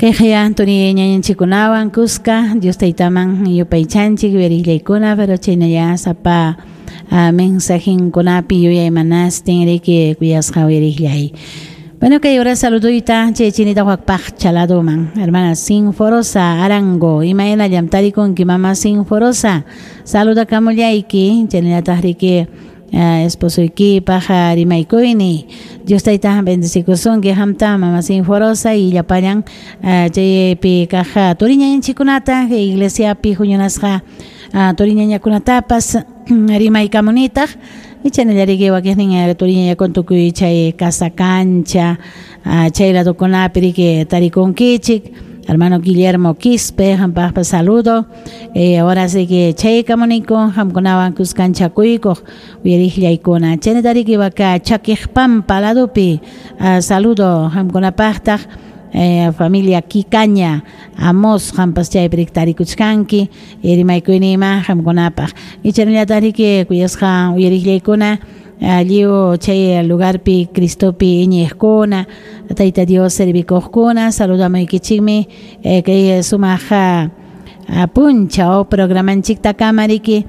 Kayqaya Anthony ñañanchikkunawan kuska Dios taytaman yupaychanchik uyariqllaykuna, pero chaynalla sapa mensajinkunapi yuyaymanastin riki kuyasqa uyariqllay. Bueno, kay hora saluduyta chay chinita wakpaq chaladuman. Hermana Sinforosa Arango, imaynallam tarikunki mama Sinforosa. Saludakamullayki, chaynallataq riki esposoykipaq rimaykuyni. Dios tayta bendecikusunki qamta mama Sinforosa y llapallan chaypi kaq turiñañanchikkunata iglesiapi huñunasqa turiñañakunatapas rimaykamunitaq. Y chaynallariki wakiqnin turiñañakuna tukuy chay casa cancha chay ladokunapi riki tarikunkichik. Hermano Guillermo Quispe, qampaqpas saludo. Ahora sí que chaykamuniku qamkunawan kuskanchakuykuq uyariqllaykuna. Chaynatariki waka Chaquiqpampa ladopi saludo qamkunapaqtaq familia Kikaña Amos qampas chaypi tarikuchkanki rimaykuynima qamkunapaq. Y chaynallatariki kuyasqa uyariqllaykuna lliw chay lugarpi Cristopi iñiqkuna Tayta Dios servikuqkuna saludamuykichikmi kay sumaq punchaw programanchiktakama riki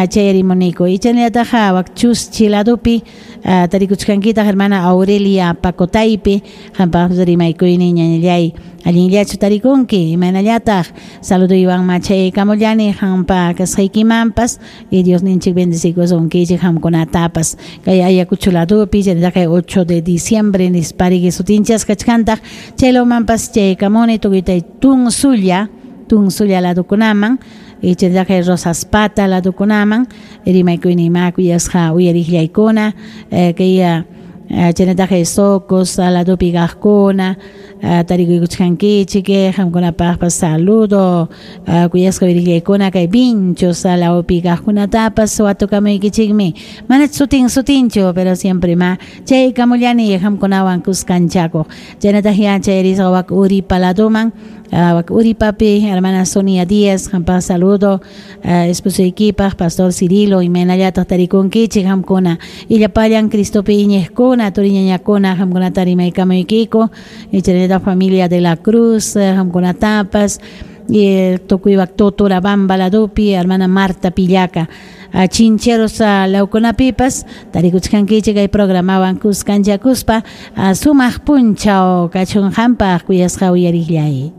chay rimuniku. Y chaynallataq wak Chuschi ladopi tarikuchkankitaq hermana Aurelia Pacotaypi qampaq rimaykuyni ñañallay allinllachu tarikunki imaynallataq saluduywanma chaykamullani qampa kasqaykimanpas y Dios ninchik bendecikusunkichik qamkunatapas kay Ayacucho ladopi chaynallataq kay 8 de diciembre nispariki sutinchasqa kachkantaq chaylawmanpas chaykamuni tukuytay Tunsulla Tunsulla ladokunaman y chaynallataq Rosaspata ladokunaman rimaykuyni kuyasqa uyariqllaykuna kay chaynallataq Socos ladopi kaqkuna tarikuykuchkankichik qamkunapaqpas saludo kuyasqa uyariqllaykuna kay Vinchos lawpi kaqkunatapas watukamuykichikmi mana sutin sutinchu pero siempre ma chaykamullani qamkunawan kuskanchakuq chaynataq ya chayrisqa wak Uripa ladoman wak Uripapi hermana Sonia Díaz qampaq saludo esposoykipaq pastor Cirilo imaynallataq tarikunkichik qamkuna y llapallan Cristopi iñiqkuna turiñañakuna qamkunata rimaykamuykiku y chaynallataq familia de la Cruz qamkunatapas y tukuy wak Toturabamba ladopi hermana Marta Pillaca Chincheros lawkunapipas tarikuchkankichik kay programawan kuskanchakuspa sumaq punchaw kachun qampaq kuyasqa uyariqllay.